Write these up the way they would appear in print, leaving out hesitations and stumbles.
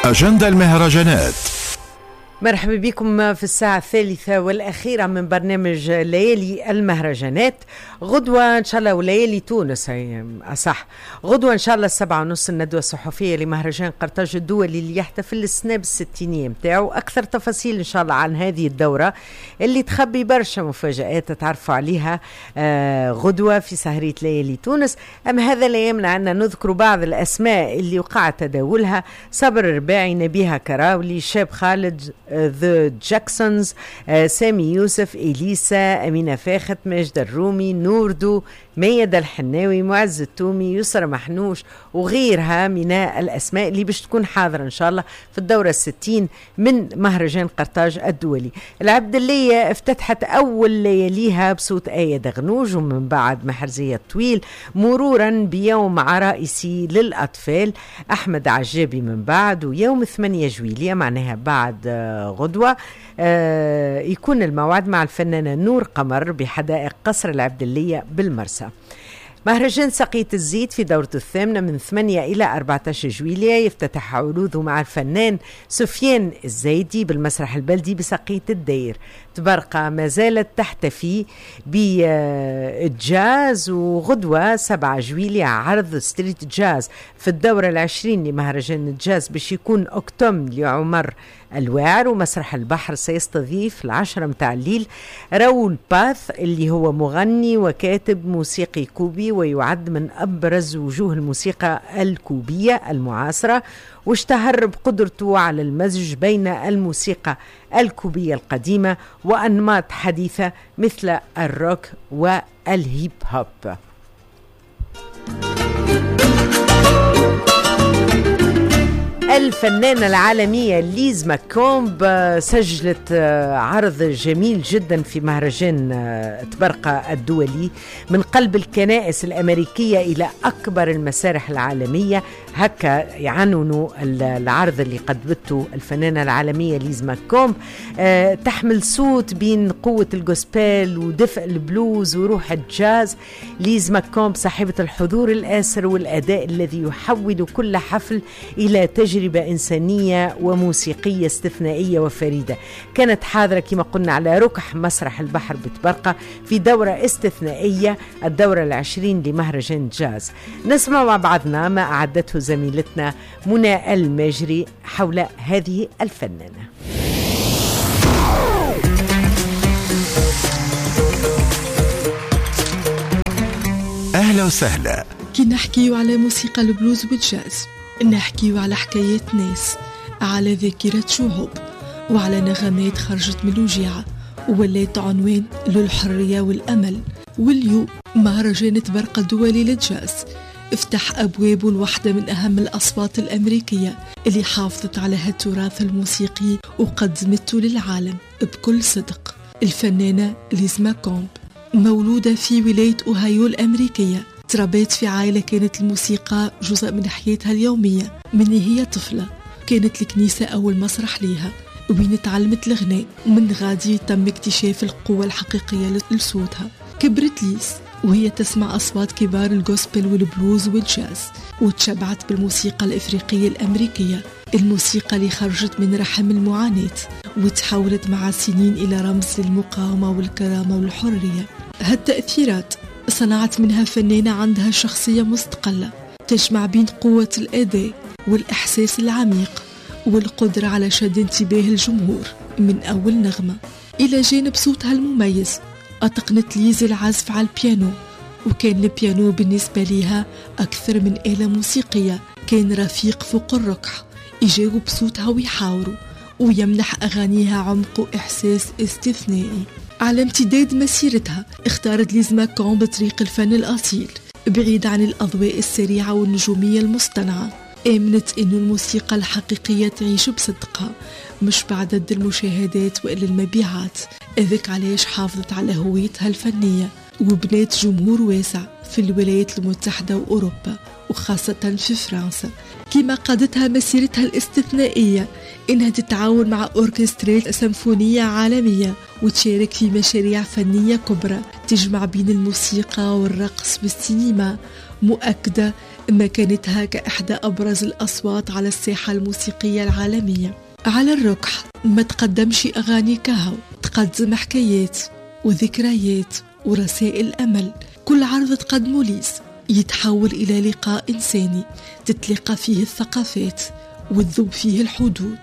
أجندة المهرجانات. مرحبا بكم في الساعة الثالثة والأخيرة من برنامج ليالي المهرجانات. غدوة إن شاء الله، وليالي تونس أصح، غدوة إن شاء الله 7:30 الندوة الصحفية لمهرجان قرطاج الدولي اللي يحتفل السنة بالستينية متاعه. أكثر تفاصيل إن شاء الله عن هذه الدورة اللي تخبي برشا مفاجآت تتعرفوا عليها غدوة في سهرية ليالي تونس. أما هذا لا يمنع أن نذكر بعض الأسماء اللي وقع تداولها: صبر الرباعي، نبيها كراولي، شاب خالد، The Jacksons، سامي يوسف، إليسا، أمينة فاخت، ماجد الرومي، نوردو، ميادة الحناوي، معز التومي، يسرى محنوش وغيرها من الأسماء اللي باش تكون حاضرة إن شاء الله في الدورة 60 من مهرجان قرطاج الدولي. العبدلية افتتحت أول لياليها بصوت آية دغنوج، ومن بعد محرزية الطويل، مرورا بيوم عرائسي للأطفال أحمد عجابي من بعد، ويوم 8 جويلية معناها بعد غدوة يكون الموعد مع الفنانة نور قمر بحدائق قصر العبدلية بالمرسى. مهرجان سقية الزيت في دورته الثامنة من 8 إلى 14 جويلية يفتتح عروضه مع الفنان سفيان الزايدي بالمسرح البلدي بسقية الدير. تبرقة ما زالت تحتفي بالجاز، وغدوة 7 جويلية عرض street jazz في الدورة 20 لمهرجان الجاز باش يكون أكتم لعمر الواعر. ومسرح البحر سيستضيف 10 متاع الليل راول باث اللي هو مغني وكاتب موسيقي كوبي ويعد من أبرز وجوه الموسيقى الكوبية المعاصرة، واشتهر بقدرته على المزج بين الموسيقى الكوبية القديمة وأنماط حديثة مثل الروك والهيب هوب. الفنانة العالمية ليز ماكومب سجلت عرض جميل جدا في مهرجان طبرقة الدولي، من قلب الكنائس الأمريكية إلى أكبر المسارح العالمية. هكا يعنونوا العرض اللي قدمته الفنانة العالمية ليز ماكومب. تحمل صوت بين قوة ال gospel ودفء البلوز وروح الجاز. ليز ماكومب صاحبة الحضور الآسر والأداء الذي يحول كل حفل إلى تجربة إنسانية وموسيقية استثنائية وفريدة. كانت حاضرة كما قلنا على ركح مسرح البحر بطبرقة في دورة استثنائية، الدورة 20 لمهرجان جاز. نسمع مع بعضنا ما أعدته زميلتنا منى الماجري حول هذه الفنانة. أهلا وسهلا. كي نحكيو على موسيقى البلوز والجاز نحكيو على حكايات ناس، على ذاكرة شعوب، وعلى نغمات خرجت من الوجيعة وولات عنوان للحرية والأمل. واليوم مهرجان طبرقة الدولي للجاز افتح أبوابه لواحدة من أهم الأصوات الأمريكية اللي حافظت على هالتراث الموسيقي وقدمته للعالم بكل صدق، الفنانة ليز ماكومب. مولودة في ولاية أوهايو الأمريكية، تربت في عائلة كانت الموسيقى جزء من حياتها اليومية من هي طفلة. كانت الكنيسة أول مسرح ليها وين تعلمت الغناء، ومن غادي تم اكتشاف القوة الحقيقية لصوتها. كبرت ليز وهي تسمع أصوات كبار ال gospel والبلوز والجاز، وتشبعت بالموسيقى الإفريقية الأمريكية، الموسيقى اللي خرجت من رحم المعاناة وتحولت مع السنين إلى رمز للمقاومة والكرامة والحرية. هالتأثيرات صنعت منها فنانة عندها شخصية مستقلة تجمع بين قوة الأداء والإحساس العميق والقدرة على شد انتباه الجمهور من أول نغمة. إلى جانب صوتها المميز أتقنت ليز العزف على البيانو، وكان البيانو بالنسبة لها أكثر من آلة موسيقية، كان رفيق فوق الركح يجاوب صوتها ويحاوره ويمنح أغانيها عمق وإحساس استثنائي. على امتداد مسيرتها اختارت ليز ماكومب طريق الفن الأصيل بعيد عن الأضواء السريعة والنجومية المصطنعة. آمنت إنه الموسيقى الحقيقية تعيش بصدقها مش بعدد المشاهدات وإلا المبيعات. هذاك علاش حافظت على هويتها الفنية وبنات جمهور واسع في الولايات المتحدة وأوروبا وخاصة في فرنسا. كما قادتها مسيرتها الاستثنائية إنها تتعاون مع أوركسترات سيمفونية عالمية وتشارك في مشاريع فنية كبرى تجمع بين الموسيقى والرقص والسينما، مؤكدة مكانتها كإحدى أبرز الأصوات على الساحة الموسيقية العالمية. على الركح ما تقدمش أغاني كهو، تقدم حكايات وذكريات ورسائل أمل. كل عرض تقدمه ليز يتحول إلى لقاء إنساني تتلاقى فيه الثقافات وتذوب فيه الحدود،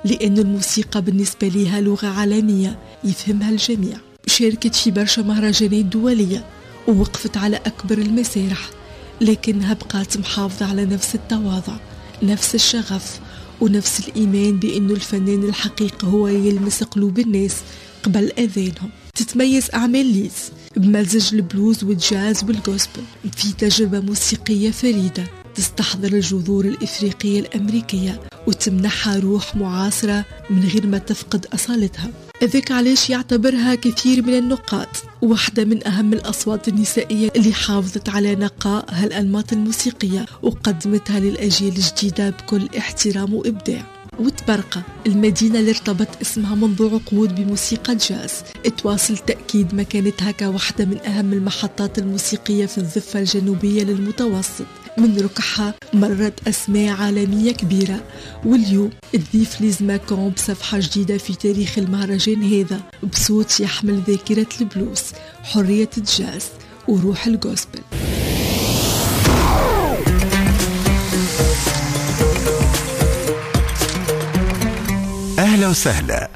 لأن الموسيقى بالنسبة لها لغة عالمية يفهمها الجميع. شاركت في برشا مهرجانات دولية ووقفت على أكبر المسارح، لكنها بقات محافظة على نفس التواضع، نفس الشغف، ونفس الإيمان بأنه الفنان الحقيقي هو يلمس قلوب الناس قبل أذانهم. تتميز أعمال ليز بمزج البلوز والجاز وال gospel في تجربة موسيقية فريدة تستحضر الجذور الإفريقية الأمريكية وتمنحها روح معاصرة من غير ما تفقد أصالتها. ذاك علاش يعتبرها كثير من النقاد واحدة من أهم الأصوات النسائية اللي حافظت على نقاء هالأنماط الموسيقية وقدمتها للأجيال الجديدة بكل احترام وإبداع. وتبرقة المدينة اللي ارتبط اسمها منذ عقود بموسيقى الجاز تواصل تأكيد مكانتها كواحدة من أهم المحطات الموسيقية في الضفة الجنوبية للمتوسط. من ركحها مرت أسماء عالمية كبيرة، واليوم تضيف ليز ماكومب صفحة جديدة في تاريخ المهرجان هذا بصوت يحمل ذاكرة البلوز، حرية الجاز وروح ال gospel. أهلا وسهلا.